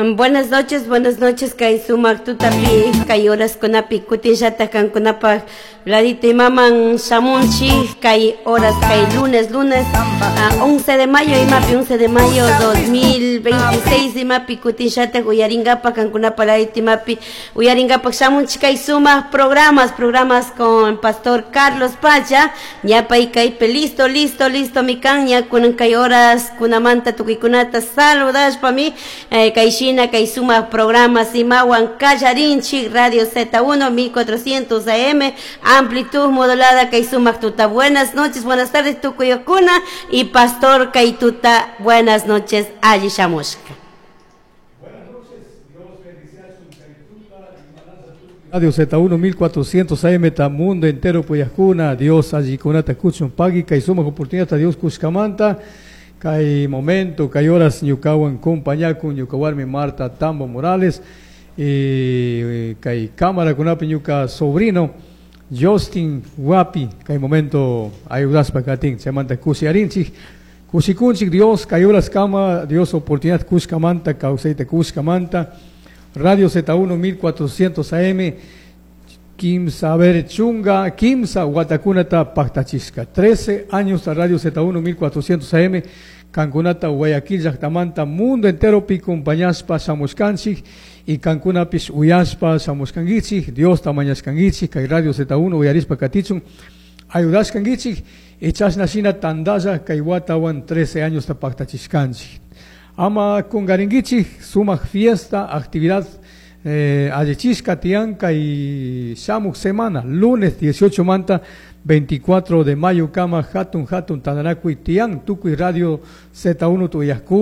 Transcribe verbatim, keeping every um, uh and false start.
Buenas noches, buenas noches, kay sumak tutapi, kay horaskunapi, kutinllata kankunapaj ladito imaman shamunchik, kay horas, kay lunes, lunes, uh, once de mayo, imapi once de mayo dos mil veintiséis, imapi kutinllata uyaringapak kankunapa ladito imapi uyaringapak shamunchik kay sumak programas, programas con Pastor Carlos Pacha, ñapay kaypi listo, listo, listo mi kan, ña kunan kay horas kunamanta tukuykunata saludashpami, eh, kay shina kay sumak programas imawan kallarinchik Radio Z uno mil cuatrocientos A M, amplitud modulada, kay sumak tuta. Buenas noches, buenas tardes, tukuyukuna y Pastor kay tuta, buenas noches, alli shamushka. Radio Z uno mil cuatrocientos A M ta mundo entero puyajkuna, Dios allikunata kuchun pagui kay sumak oportunidad Dios kushkamanta kay momento kay horas ñukawan compañakun ñuka warmi Marta Tambo Morales y kay cámara kunapi ñuka sobrino Justin Wapi kay momento ayudaspa katin chaymanta kushiyarinchik kushikunchik Dios kay horas kama Dios oportunidad kushkamanta kawsayta kushkamanta Radio Z uno mil cuatrocientos A M kimsa ver chunga kimsa watakunata paktachishka trece años a Radio Z uno mil cuatrocientos A M kankunata Guayaquil llaktamanta mundo entero pi compañaspa shamushkanchik y kankunapish uyashpa shamushkankichik Dios mañashkankichik kay Radio Z uno uyarishpa katichun ayudashkankichik y chashna shina tandalla kay watawan trece años ta paktachishkanchik ama kungarinkichik sumak fiesta actividad eh, allichishka tiyan kay shamuk semana lunes dieciocho manta veinticuatro de mayo kama hatun hatun tandanakuy tiyan tukuy Radio Z uno tuyajku.